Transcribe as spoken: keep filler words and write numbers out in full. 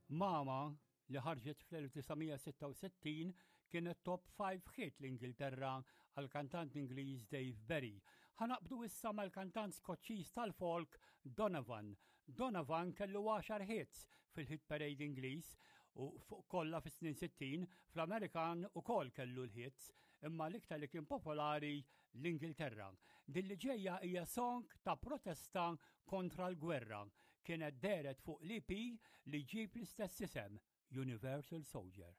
Mama, li ħarġet fl-elf disa' mija sitta u sittin, kienet top five hit l-Ingilterra għal kantant Ingliż Dave Berry. Ħa naqbdu issa mal-kantant Skoċċiż tal-folk Donovan. Donovan kellu għaxar hits fil-hit parade Ingliż u fuq kollha fis-snin sittin. Fl-Amerikan ukoll kellu l-hits, imma l-iktar li kien popolari l-Ingilterra. Din li ġejja hija song ta' protesta kontra l-gwerra. Kienet dehret fuq l-E P li ġib l-istess isem, Universal Soldier.